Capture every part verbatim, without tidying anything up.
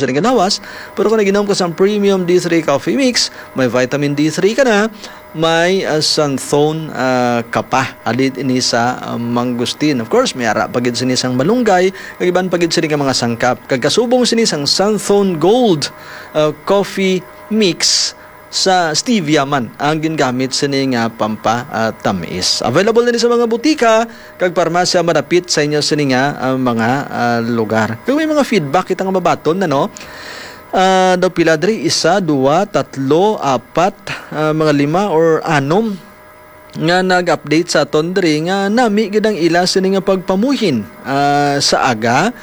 sini nga lawas. Pero kung nag-inom ka sang premium D three coffee mix, may vitamin D three ka na, may, ah, xanthone, ah, ka pa. Halin ini sa, ah, mangustin. Of course, may ara pa gid sini sang malunggay, kag iban pa gid sini nga mga sangkap. Kag kasubong sini sang xanthone gold, ah, coffee mix, sa stevia man ang gingamit sini nga pampa, ah, tamis. Available na ni sa mga butika kag parmasya madapit sa inyo sini nga, ah, mga, ah, lugar. Kung may mga feedback kita nga mabaton na, no? Ah, daw pila diri? Isa, duwa, tatlo, apat, ah, mga lima or anom nga nag-update sa aton diri nga nami gid ang ila sini nga pagpamuhin, ah, sa aga,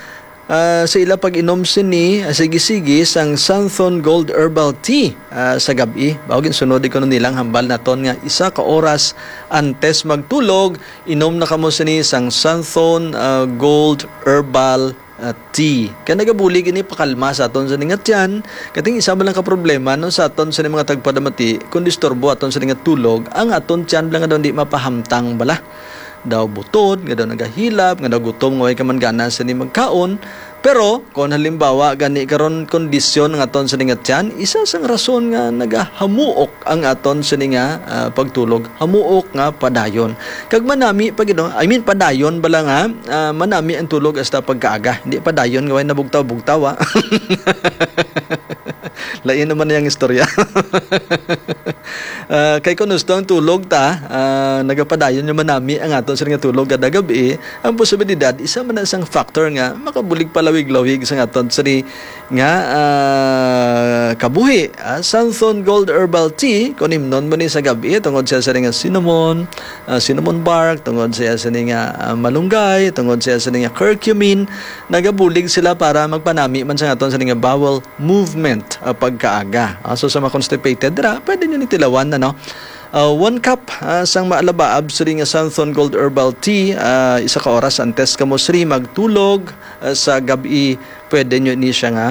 ah, sa ila pag-inom sini, ah, sige-sige sang Santhon Gold Herbal Tea, ah, sa gab-i. Bawo ginsunod ko nilang hambal naton nga isa ka oras antes magtulog, inom na kamo sini sang Santhon, ah, Gold Herbal, ah, Tea. Kay nagabulig ini pakalma sa aton sini nga tiyan. Kating isa man lang ka problema, no, sa aton sini mga tagpadamati, kung disturbo aton sini nga tulog, ang aton tiyan lang nga daw di mapahamtang bala. Daw butod, nga daw nagahilap, nga daw gutom, nga way ka man gana sini magkaon. Pero kung halimbawa gani karon kondisyon nga aton sini nga tiyan, isa sang rason nga nagahamuok ang aton sini nga, ah, pagtulog. Hamuok nga padayon. Kag manami pa gid, no? I mean, padayon bala nga, ah, manami ang tulog hasta pagkaaga. Hindi padayon nga way nabugtaw-bugtaw, ah. Lain naman ang istorya. Ah, kay kung gusto ang tulog ta, ah, nagapadayon nga manami ang aton sini nga tulog kada gab-i, ang posibilidad isa man na sang factor nga makabulig palawig-lawig sa aton sini nga, ah, kabuhi. Ah, Santhon Gold Herbal Tea, kung imnon mo ni sa gab-i, tungod siya sa nga cinnamon, ah, cinnamon bark, tungod siya sa nga, ah, malunggay, tungod siya sa nga curcumin, nagabulig sila para magpanami man sa aton sa nga bowel movement, ah, pagkaaga. Ah, so sa mga constipated dira, pwede nyo ni tilawan, ano? Ah, one cup, ah, sang maalabaab sini nga Santhon Gold Herbal Tea, ah, isa ka oras antes kamo sini magtulog, ah, sa gab-i, pwede nyo ni siya nga,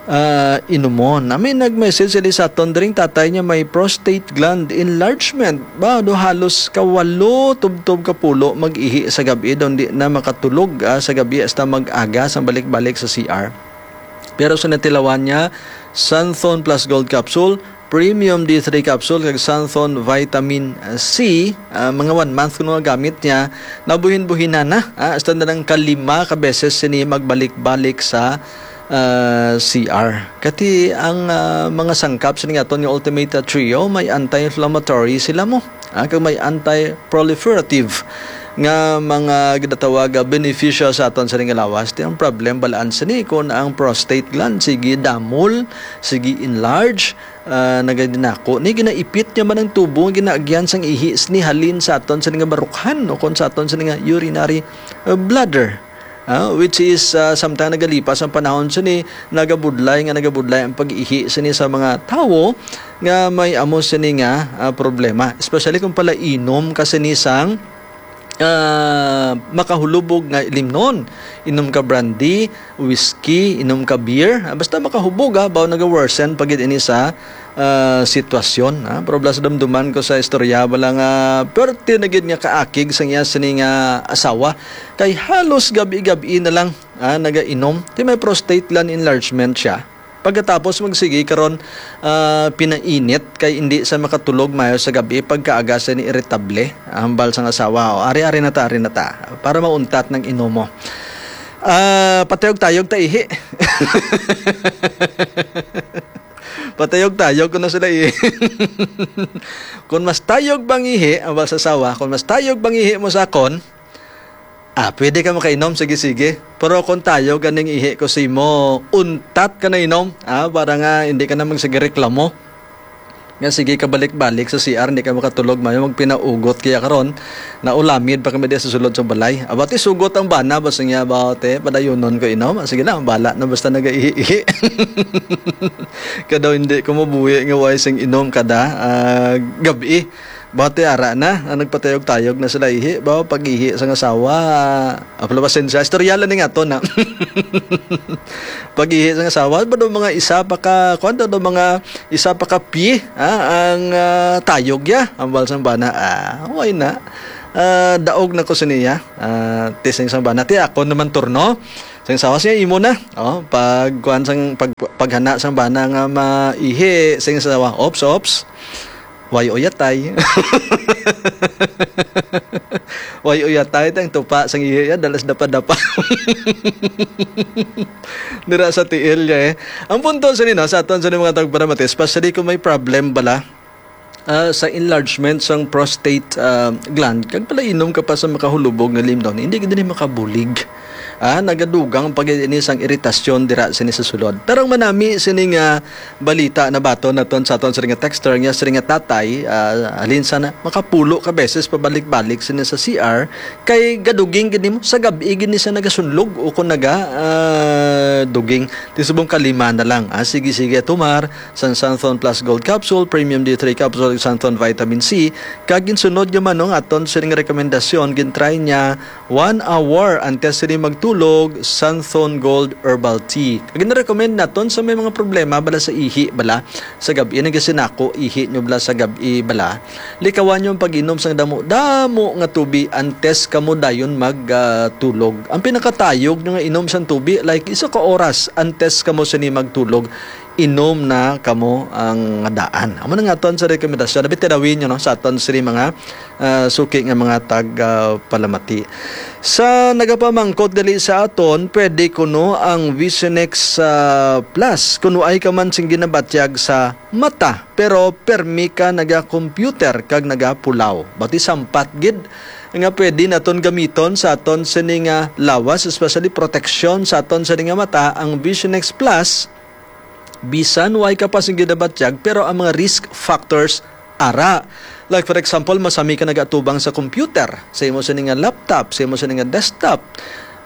ah, inumon. Nami nag-message sila sa aton diri, tatay niya may prostate gland enlargement. Ba, do halos kawalo tubtob ka pulo mag-ihi sa gab-i, daw di na makatulog, ah, sa gab-i hasta mag-aga sang balik-balik sa C R. Pero sa natilawan niya, Santhon Plus Gold Capsule, Premium D three Capsule, kag Santhon Vitamin C, ah, mga one month kuno nga gamit niya, nabuhin-buhinan na, ah, hasta na lang kalima ka beses sini magbalik-balik sa, ah, C R. Kati ang, ah, mga sangkap sini nga aton nga Ultimate Trio, may anti-inflammatory sila mo, ah, kag may anti-proliferative nga mga ginatawag nga benepisyo sa aton sini nga lawas. Ti ang problem, balaan sini kung ang prostate gland sige damol, sige enlarge, ah, nagadinako ni, ginaipit niya man ang tubo nga ginaagyan sang ihi sini halin sa aton sini nga barukhan o kon sa aton sini nga urinary, ah, bladder. Ah, which is, ah, samtang nagalipas ang panahon sini, nagabudlay nga nagabudlay ang pag-ihi sini sa mga tawo nga may amo sini nga, ah, problema, especially kung palainom ka sini sang, ah, makahulubog nga ilimnon. Inom ka brandy, whiskey, inom ka beer, ah, basta makahubog, ah, baw naga-worsen pa gid ini sa, ah, sitwasyon, ah. Pero bala sa dumduman ko sa istorya, bala nga perti na gid nga kaakig sang iya sini nga asawa, kay halos gab-i-gab-i na lang, ah, nagainom. Ti may prostate gland enlargement siya. Pagkatapos magsigi karon, ah, pinainit kay hindi sa makatulog mayo sa gabi, pagkaaga sa ni iritable, ah, hambal sang asawa. O, ari, ari na ta, ari na ta. Para mauntat ng inom mo. Ah, patayog-tayog ta ihi. Patayog-tayog ko na sila ihi. Kung mas tayog bang ihi, hambal sa asawa, kung mas tayog bang ihi mo sa akon, ah, pwede ka makainom, sige, sige. Pero kung tayo ganing ihi ko sa imo, untat ka na inom, ah, para nga hindi ka na magsige reklamo. Nga sige ka balik-balik sa C R, hindi ka makatulog, mayo magpinaugot kaya karon, naulamid pa kami diya sa sulod sa balay. Aba, ti sugot ang bana, basta niya ba, te, padayunon ko inom. Ah, sige na, bala na basta nagaihi-ihi. Kadaw hindi ko mabuhi nga way sing inom kada, ah, gabi. Bati ara na, ang nagpatayog-tayog na sila ihi. Ba, pag-ihi sang asawa, apala pasensya, istorya lang ni nga to na. Pag-ihi sang asawa, ba daw mga isa pa ka, kuwan daw, daw mga isa pa ka pie, ha, ang, ah, tayog ya, ang balsang bana. Ah, why na? Ah, daog na ko sa niya. Ah, testing sang bana. Ti ako naman turno. Sing sawa siya, imo na. Oh, pag kuan sang pag paghana sang bana nga maihi, sing sawa, "Ops, ops. Way uyatay." Way uyatay tang tupa sang ihi ya, dalas dapa-dapa. Dira sa tiil niya, eh. Ang punto sa nino, sa aton sa mga tagparamati, especially kung may problem bala, ah, sa enlargement sang prostate, ah, gland, kag pala inom ka pa sa makahulubog nga limnon, hindi gid ni makabulig. Ah, nagadugang pa gid ini sang iritasyon dira sini sa sulod. Pero ang manami sini nga balita, nabaton naton sa aton sini nga texter, nga sini nga tatay, ah, halin sana makapulo ka beses pabalik-balik sini sa C R, kay gaduging gid nimo sa gab-i gid ni siya nagasunlog o kung naga, ah, duging. Ti subong kalima na lang. Ah, sige, sige, tumar sang Santhon Plus Gold Capsule, Premium D three Capsule, Santhon Vitamin C. Kag ginsunod niya man, no, aton sining rekomendasyon, gintry niya one hour antes sini magtulog, Santhon Gold Herbal Tea. Kag ginarecommend naton sa may mga problema bala sa ihi bala sa gab-i, nagasinako ihi nyo bala sa gab-i bala. Likawan nyo ang pag-inom sang damo-damo nga tubi antes kamo dayon mag, ah, tulog. Ang pinakatayog nyo nga inom sang tubi, like, isa ka oras antes kamo sini magtulog, inom na kamo ang daan. Amo na nga aton sa rekomendasyon. Abi, tirawin nyo, no, sa aton sini mga, ah, suki nga mga tag, ah, palamati. Sa nagapamangkot dali sa aton, pwede kuno ang Visionex, ah, Plus, kuno ay ka man sing ginabatyag sa mata, pero permi ka naga-computer kag nagapulaw. Bati sampat gid nga pwede naton gamiton sa aton sini nga lawas, especially proteksyon sa aton sini nga mata, ang Vision X Plus. Bisan way ka pa sing ginabatyag, pero ang mga risk factors ara. Like for example, masami ka nagatubang sa computer, sa imo sini nga laptop, sa imo sini nga desktop.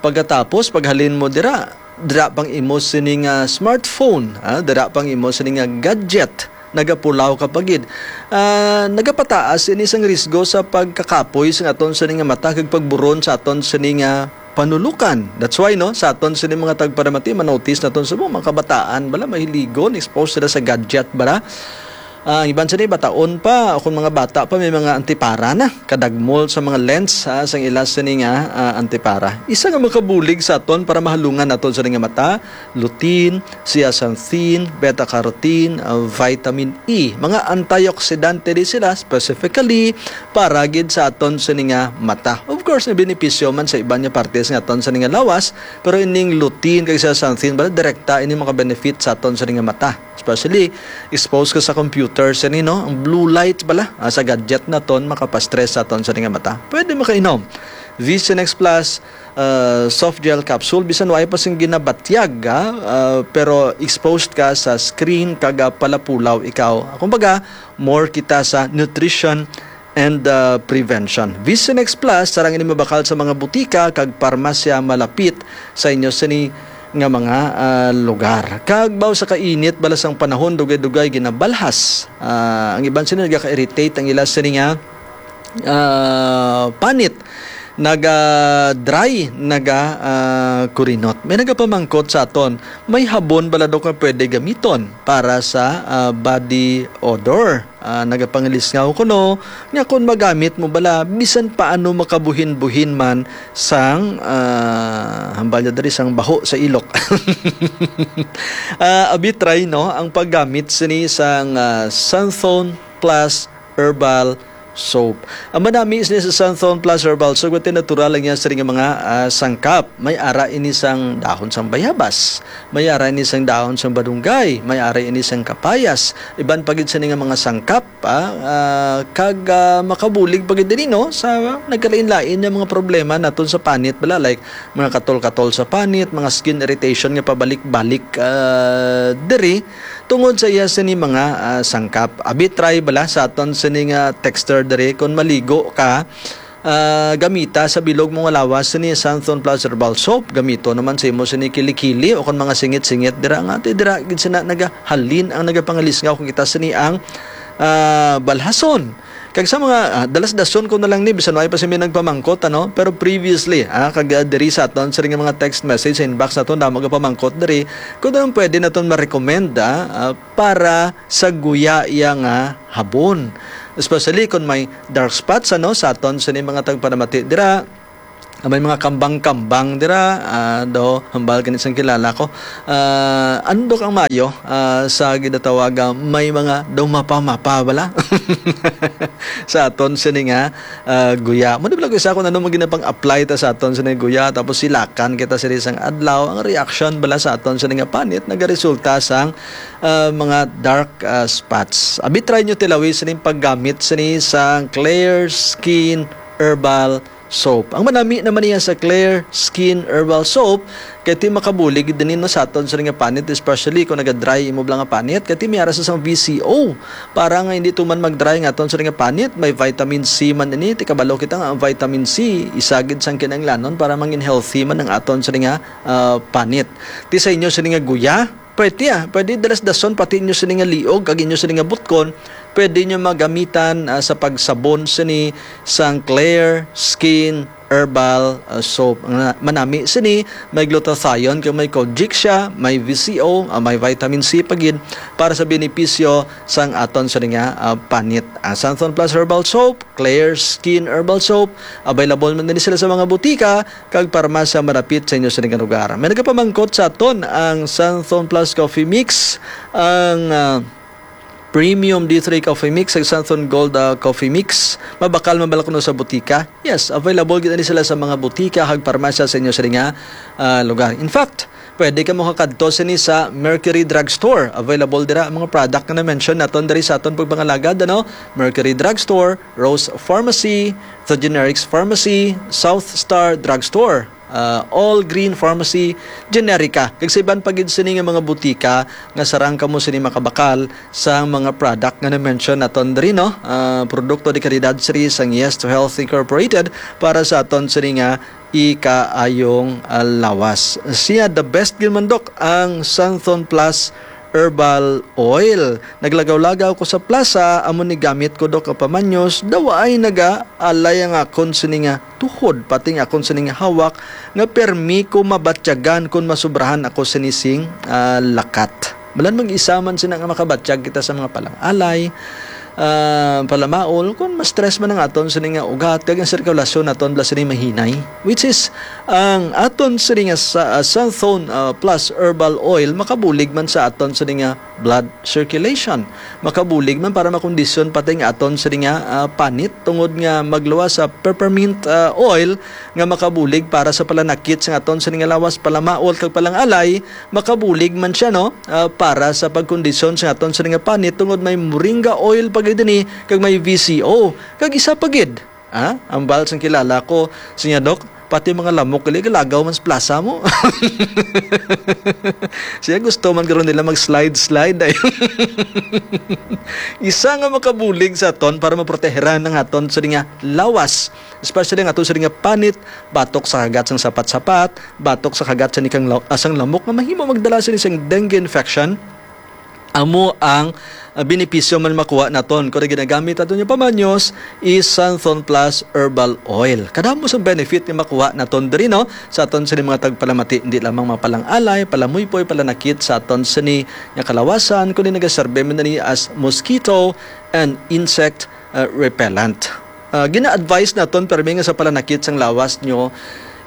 Pagkatapos, paghalin mo dira, dira pang imo sini nga smartphone, ah, dira pang imo sini nga gadget, nagapulaw ka pa gid. Ah, nagapataas ini sang risgo sa pagkakapoy sa aton sini nga mata kag pagburon sa aton sini nga panulukan. That's why, no, sa aton sini mga tagparamati, manotice naton sa mga kabataan bala, mahiligon, exposed sila sa gadget bala. Ah, ang iban sini bataon pa, o kung mga bata pa, may mga antipara na. Kadagmol sa mga lens, ah, sang ila sini nga, ah, antipara. Isa nga makabulig sa aton para mahalungan naton sini nga mata, lutein, zeaxanthin, beta-carotene, ah, vitamin E. Mga antioxidante di sila, specifically para gid sa aton sini nga mata. Of course, may benepisyo man sa iban nga partes nga aton sini nga lawas, pero ining lutein kag zeaxanthin, bala, direkta ini maka-benefit sa aton sini nga mata. Especially, exposed ka sa computer, sini, no? Ang blue light bala, ah, sa gadget naton, makapastress sa aton sini nga mata. Pwede makainom. Vision X Plus, ah, soft gel capsule, bisan way pa sing ginabatyag, ah, ah, pero exposed ka sa screen kag, ah, palapulaw ikaw. Kumbaga, more kita sa nutrition and, ah, prevention. Vision X Plus, sarang ini mabakal sa mga butika kag parmasya malapit sa inyo sini nga mga, ah, lugar. Kag baw sa kainit bala sang panahon, dugay-dugay ginabalhas. Ah, ang iban sini nagaka-irritate ang ila sini nga, ah, panit, naga-dry, naga, ah, kurinot. May nagapamangkot sa aton, may habon bala daw nga pwede gamiton para sa, ah, body odor? Ah, nagapangalisngaw kuno nga kung magamit mo bala bisan paano makabuhin-buhin man sang, ah, hambal niya diri, sang baho sa ilok. Ah, abi, try, no, ang paggamit sini sang, ah, Santhon Plus Herbal Soap. Ang manami sini sa Santhon Plus Herbal Soap, ito natural lang yan sa ring mga, ah, sangkap. May ara ini sang dahon sang bayabas, may ara ini sang dahon sang badunggay, may ara ini sang kapayas. Iban pa gid sini nga mga sangkap, ah, ah, kag, ah, makabulig pa gid diri, no, sa nagkalain-lain nga mga problema naton sa panit bala, like mga katol-katol sa panit, mga skin irritation nga pabalik-balik, ah, diri tungod sa iya sini mga, ah, sangkap. Abi, try bala sa aton sini nga texter diri, kung maligo ka, ah, gamita sa bilog mo nga lawas sini Santhon Plus Herbal Soap. Gamito naman sa imo sini kilikili o kon mga singit-singit dira nga ti dira gid sina nagahalin ang nagapangalisngaw kung kita sini ang, ah, balhason. Kag sa mga, ah, dalas-dason ko na lang ni, bisan way pa simi nagpamangkot, ano? Pero previously, ah, kag, ah, diri sa aton, sa ring mga text message sa inbox naton, damo gapamangkot diri, kung anong pwede naton ma-recommend, ah, ah, para sa guya iya nga habon. Especially kung may dark spots, ano, sa aton, sa mga tagpanamati dira, Ah, may mga kambang-kambang dira, ah, daw, hambal gani sang kilala ko. Ah, andok ang mayo, ah, sa ginatawag nga may mga daw mapa-mapa bala. Sa aton sini nga, ah, guya. Mo di bala ko isa kung ano man ginapang-apply ta sa aton sini nga guya, tapos silakan kita sini sang adlaw. Ang reaction bala sa aton sini nga panit nagaresulta sang, ah, mga dark, ah, spots. Abi, try nyo tilawi sining paggamit sini sang Clear Skin Herbal Soap. Ang manami naman niya sa Clear Skin Herbal Soap, kay ti makabulig din no sa aton sa nga panit, especially kung naga-dry imo bala nga panit, kay ti may ara sa sang V C O. Para nga hindi tuman mag-dry nga aton sa nga panit, may vitamin C man ini. Ti kabalo kita nga ang vitamin C, isa gid sang kinahanglanon para mangin healthy man ang aton sa nga, ah, panit. Ti sa inyo sa nga guya, pwede, ah. Pwede dalas-dason pati inyo sini nga liog kag inyo sini nga butkon. Pwede nyo magamitan, ah, sa pagsabon sini sang Clear Skin Herbal, ah, Soap. Ang na-, manami sini, may glutathione kag may kojic siya, may V C O, ah, may vitamin C pa gid para sa benepisyo sang aton sini nga, ah, panit. Ang Santhon Plus Herbal Soap, Clear Skin Herbal Soap, available man din sila sa mga butika kag parmasya malapit sa inyo sa inyong lugar. May nagapamangkot sa aton ang Santhon Plus Coffee Mix, ang, ah, Premium D three Coffee Mix, ang Santhon Gold, ah, Coffee Mix. Mabakal man bala kuno sa butika? Yes, available gid ani sila sa mga butika kag parmasya sa inyo sa nga, ah, lugar. In fact, pwede ka makakadto sini sa Mercury Drugstore. Available dira ang mga product nga na-mention naton diri sa aton pagpangalagad, ano? Mercury Drugstore, Rose Pharmacy, The Generics Pharmacy, South Star Drugstore, ah, All Green Pharmacy, Generica. Kag sa iban pa gid sini nga mga butika nga sarang kamo sini makabakal sa mga product nga na-mention naton diri, no? Ah, produkto de kalidad sini sang Yes to Health Incorporated para sa aton sini nga ikaayong, ah, lawas. Siya, the best gid man, Dok, ang Santhon Plus Herbal Oil. Naglagaw-lagaw ko sa plaza, amo ni gamit ko, Dok, ang pamanyos, daw ay nagaalay ang akon sini nga tuhod, pati nga akon sini nga hawak, nga permi ko mabatyagan kon masubrahan ako sini sing, ah, lakat. Balan mag-isa man sina nga makabatyag kita sa mga palang-alay, ah, palamaol, kung ma-stress man ang aton sini nga ugat, kag ang sirkulasyon naton bala sini mahinay. Which is, ang aton sini nga sa, ah, Santhon, ah, Plus Herbal Oil, makabulig man sa aton sini nga blood circulation. Makabulig man para makondisyon pati nga aton sini nga, ah, panit, tungod nga magluwas sa peppermint, ah, oil nga makabulig para sa palanakit sa aton sini nga lawas, palamaol kag palang-alay, makabulig man siya, no? Ah, para sa pagkondisyon sa aton sini nga panit, tungod may moringa oil pa gid ini kag may V C O. Kag isa pa gid, ah, ang bal sang kilala ko, siya, Dok, pati mga lamok gali galagaw man sa plaza mo. Siya, gusto man garo nila mag-slide-slide ay. Isa nga makabulig sa aton para maproteheran ang aton sini nga lawas, especially ang aton sini nga panit, batok sa kagat sang sapat-sapat, batok sa kagat sini kang la-, ah, sang lamok nga mahimo magdala sini sang dengue infection. Amo ang, ah, benepisyo man makuha naton kon ginagamit naton yung pamanyos is Santhon Plus Herbal Oil. Kadamo sa benefit nga makuha naton diri, no, sa aton sini mga tagpalamati, hindi lamang mapalang-alay, palamuypoy, palanakit sa aton sini nga kalawasan, kundi nagaserbi man ni as mosquito and insect, ah, repellent. Ah, gina-advise naton, permi nga sa palanakit sang lawas nyo,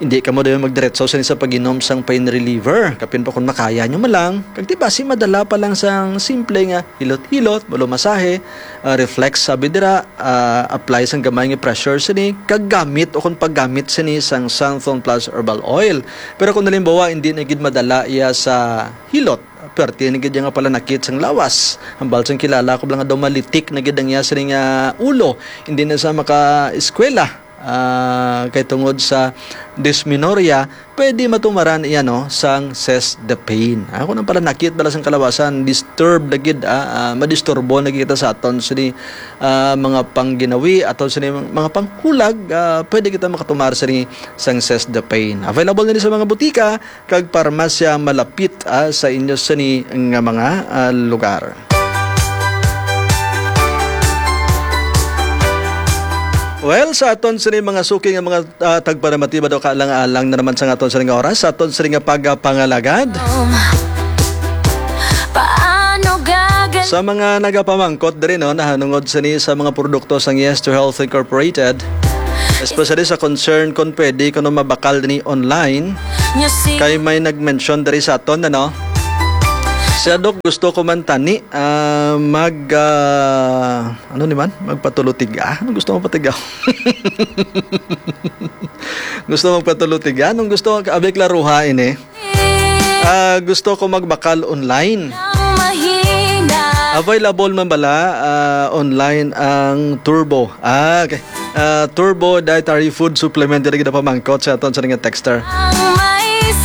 hindi kamo dayon magdiretso sini sa pag-inom sang pain reliever. Kapin pa kung makaya nyo man lang, kag di basi madala pa lang sang simple nga hilot-hilot, malumasahe, ah, reflex sabi dira, ah, apply sang gamay nga pressure sini, kag gamit o kung paggamit sini sang Santhon Plus Herbal Oil. Pero kung halimbawa, hindi na gid madala iya sa hilot, perti na gid iya nga palanakit sang lawas. Hambal sang kilala ko lang nga daw malitik na gid ang iya sini nga ulo. Hindi na sa maka-eskwela, ah, kay tungod sa dysmenorrhea, pwede matumaran iya, no, sang Cess the Pain. Ah, kung ang palanakit bala sang kalawasan, disturb na gid, ah, ah, madisturbo na gid kita sa aton sini, ah, mga pangginawi, aton sini mga panghulag, ah, pwede kita makatumar sini sang Cess the Pain. Available na ni sa mga butika kag parmasya malapit, ah, sa inyo sini nga mga, ah, lugar. Well, sa aton sini mga suki nga mga, ah, tagparamatiba daw, kaalang-alang na naman sa aton sini nga oras, sa aton sini nga pagpangalagad. Paano gagal- Sa mga nagapamangkot diri, no, nahanungod sini sa mga produkto sang Yes to Health Incorporated, Especially sa concern kung pwede kuno mabakal ni online. Kay may nag-mention diri sa aton, ano? Siya, "Dok, gusto ko man tani, ah, mag, ah, ano ni man? Magpatulutiga? Anong gusto mo patiga?" Gusto magpatulutiga? Anong gusto? Abay, klaruha ini. Ah, gusto ko magbakal online. Available man bala, ah, online ang Turbo? Ah, okay. Ah, Turbo Dietary Food Supplement, diri gid pamangkot sa aton sa nga texter.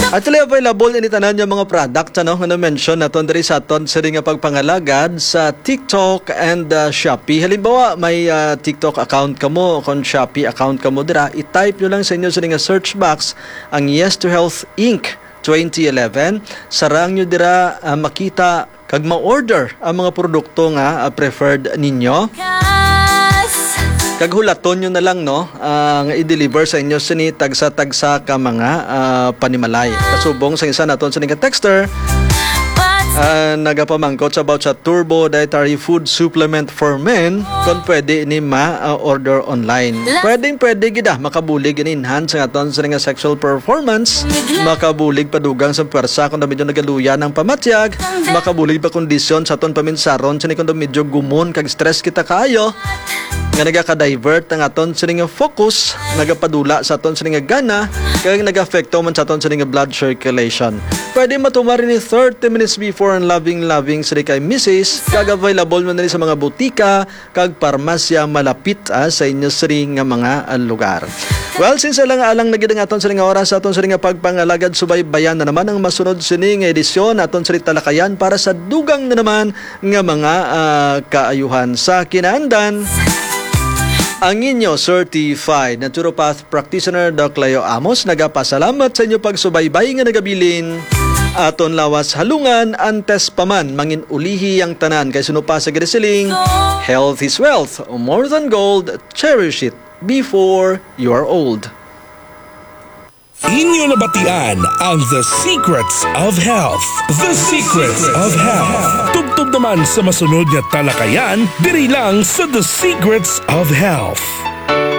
Actually, available ini tanan yung mga product, ano, nga na-mention naton diri sa aton sa nga pagpangalagad sa TikTok and, ah, Shopee. Halimbawa, may, ah, TikTok account kamo o kung Shopee account kamo dira, i-type nyo lang sa inyo sa nga search box ang Yes to Health Inc twenty eleven. Sarang nyo dira, ah, makita kag ma-order ang mga produkto nga, ah, preferred ninyo. Kag hulaton nyo na lang, no, ah, nga i-deliver sa inyo sini tagsa-tagsa ka mga, ah, panimalay. Kasubong sa isa naton sini ka texter, ah, nagapamangkot sa about sa Turbo Dietary Food Supplement for Men, kung pwede ini ma-order online. Pwedeng pwede gid, ah, makabulig ini enhance ang aton sini nga sexual performance, makabulig padugang sa pwersa kung medyo nagaluya ang pamatyag, makabulig pa kondisyon sa aton paminsaron sini kung medyo gumon kag stress kita kaayo, nga nagaka-divert ang aton sini nga focus, nagapadula sa aton sini nga gana, kag nag-apekto man sa aton sini nga blood circulation. Pwede matumar ini thirty minutes before ang loving-loving sini kay misis, kag available man ini sa mga butika kag parmasya malapit, ah, sa inyo sini nga mga, ah, lugar. Well, since alang-alang na gid ang aton sini nga oras sa aton sini nga pagpangalagad, subaybayan na naman ang masunod sini nga edisyon aton sini talakayan para sa dugang na naman nga mga, ah, kaayuhan. Sa kinaandan, ang inyo certified naturopath practitioner, Doc Leo Amos, nagapasalamat sa inyo pagsubaybay nga nagabilin. Aton lawas halungan, antes pa man mangin-ulihi ang tanan, kay suno pa sa gid siling, "Health is wealth, more than gold, cherish it before you are old." Inyo nabatian ang The Secrets of Health. The Secrets of Health. Tubtob naman sa masunod nga talakayan, diri lang sa The Secrets of Health.